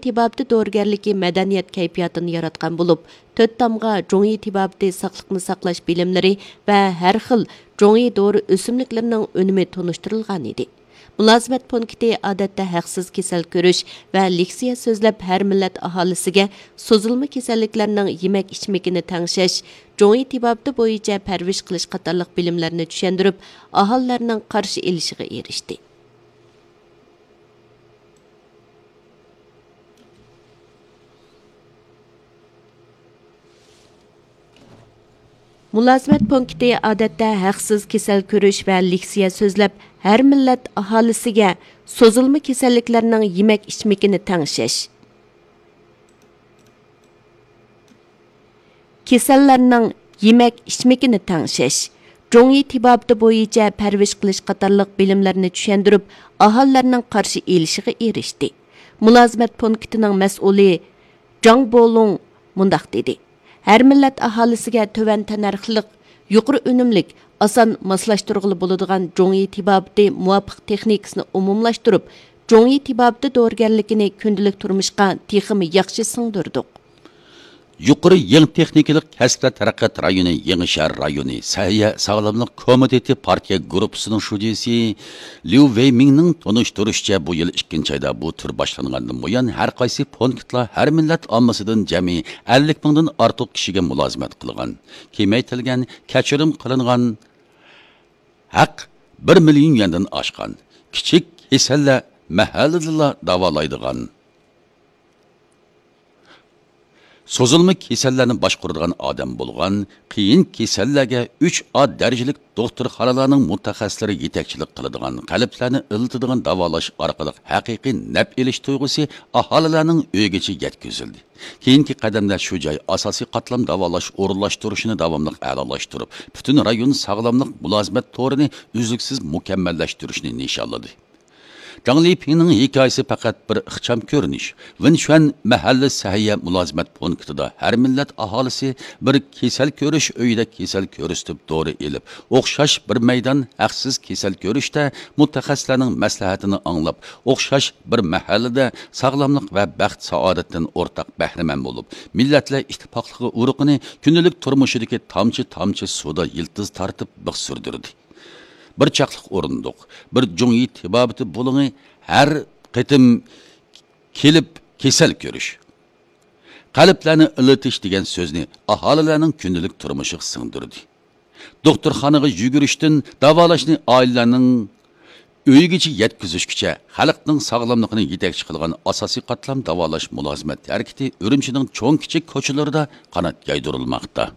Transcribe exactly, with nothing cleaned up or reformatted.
تېبابىتى دورىگەرلىكى مەدەنىيەت كەيپىياتىنى ياراتقان بولۇپ، تۆت تامغا جۇڭيى تېبابىتى ساقلىقنى ساقلاش بىلىملىرى ۋە ھەر خىل جۇڭيى دورا ئۆسۈملۈكلىرىنىڭ ئۈنۈمى تونۇشتۇرۇلغان ئىدى. مۇلازىمەت پونكىتى ئادەتتە ھەقسىز كېسەل كۆرۈش ۋە لېكسىيە سۆزلەپ، ھەر مىللەت ئاھالىسىگە سوزۇلما كېسەللىكلەرنىڭ يېمەك ئىچمىكىنى تەڭشەش، جۇڭيى تېبابىتى بويىچە پەرۋىش قىلىش قاتارلىق بىلىملەرنى چۈشەندۈرۈپ، ئاھالىلەرنىڭ قارشى ئېلىشىغا ئېرىشتى. مۇلازىمەت پونكىتى ئادەتتە ھەقسىز كېسەل كۆرۈش ۋە لېكسىيە سۆزلەپ، ھەر مىللەت ئاھالىسىگە سوزۇلما كېسەللىكلەرنىڭ يېمەك ئىچمىكىنى تەڭشەش، كېسەللەرنىڭ يېمەك ئىچمىكىنى تەڭشەش، جۇڭيى تېبابىتى بويىچە پەرۋىش قىلىش قاتارلىق بىلىملەرنى چۈشەندۈرۈپ، ئاھالىلەرنىڭ قارشى ئېلىشىغا ئېرىشتى. مۇلازىمەت پونكىتىنىڭ مەسئۇلى جاڭ بولۇڭ مۇنداق دېدى: ھەر مىللەت ئاھالىسىگە تۆۋەن تەننەرخلىق، يۇقىرى ئۈنۈملۈك، ئاسان ماسلاشتۇرغىلى بولىدىغان جۇڭيى تېبابىتى مۇۋاپىق تېخنىكىسىنى ئومۇملاشتۇرۇپ، جۇڭيى تېبابىتى دورىگەرلىكىنى كۈندىلىك تۇرمۇشقا تېخىمۇ ياخشى سىڭدۈردۇق. يۇقىرى يېڭى تېخنىكىلىق كەسىپلەر تەرەققىيات رايونى يېڭى شەھەر رايونى سەھىيە ساغلاملىق كومىتېتى پارتىيە گۇرۇپپىسىنىڭ شۇجىسى ليۇ ۋېيمىڭنىڭ تونۇشتۇرۇشىچە، بۇ يىل ئىككىنچى ئايدا بۇ تۈر باشلانغاندىن بۇيان، ھەر قايسى پونكىتلار ھەر مىللەت ئاممىسىدىن جەمئىي ئەللىك مىڭدىن ئارتۇق كىشىگە مۇلازىمەت قىلغان. كېمەيتىلگەن، كەچۈرۈم قىلىنغان ھەق بىر مىليون يۈەندىن ئاشقان. كىچىك كېسەللەر مەھەللىدىلا داۋالايدىغان، سوزۇلما كېسەللەرنى باشقۇرىدىغان ئادەم بولغان، قىيىن كېسەللەرگە ئۈچ ئا دەرىجىلىك دوختۇرخانىلارنىڭ مۇتەخەسسىسلىرى يېتەكچىلىك قىلىدىغان، قەلبلەرنى ئىللىتىدىغان داۋالاش ئارقىلىق ھەقىقىي نەپ ئېلىش تۇيغۇسى ئاھالىلەرنىڭ ئۆيىگىچە يەتكۈزۈلدى. كېيىنكى قەدەمدە شۇ جاي ئاساسىي قاتلام داۋالاش ئورۇنلاشتۇرۇشىنى داۋاملىق ئەلالاشتۇرۇپ، پۈتۈن رايون ساغلاملىق مۇلازىمەت تورىنى ئۈزلۈكسىز مۇكەممەللەشتۈرۈشنى نىشانلىدى. جاڭ لىپىڭنىڭ ھېكايىسى پەقەت بىر ئىخچام كۆرۈنۈش. ۋېنشۈەن مەھەللە سەھىيە مۇلازىمەت پونكىتىدا ھەر مىللەت ئاھالىسى بىر كېسەل كۆرۈش ئۆيىدە كېسەل كۆرسىتىپ دورا ئېلىپ، ئوخشاش بىر مەيدان ھەقسىز كېسەل كۆرۈشتە مۇتەخەسسىسلەرنىڭ مەسلىھەتىنى ئاڭلاپ، ئوخشاش بىر مەھەللىدە ساغلاملىق ۋە بەخت سائادەتتىن ئورتاق بەھرىمەن بولۇپ، مىللەتلەر ئىتتىپاقلىقى ئۇرۇقىنى كۈندىلىك تۇرمۇشىدىكى تامچە-تامچە سۇدا يىلتىز تارتىپ بىخ سۈردۈردى. بىر چاقلىق ئورۇندۇق، بىر جۇڭيى تېبابىتى بۇلۇڭى، ھەر قېتىم كېلىپ كېسەل كۆرۈش، قەلبلەرنى ئىللىتىش دېگەن سۆزنى ئاھالىلەرنىڭ كۈندىلىك تۇرمۇشىغا سىڭدۈردى. دوختۇرخانىغا يۈگۈرۈشتىن داۋالاشنى ئائىلىلەرنىڭ ئۆيىگىچە يەتكۈزۈشكىچە خەلقنىڭ ساغلاملىقىنى يېتەكچى قىلغان ئاساسىي قاتلام داۋالاش مۇلازىمەت ھەرىكىتى ئۈرۈمچىنىڭ چوڭ-كىچىك كوچىلىرىدا قانات يايدۇرۇلماقتا.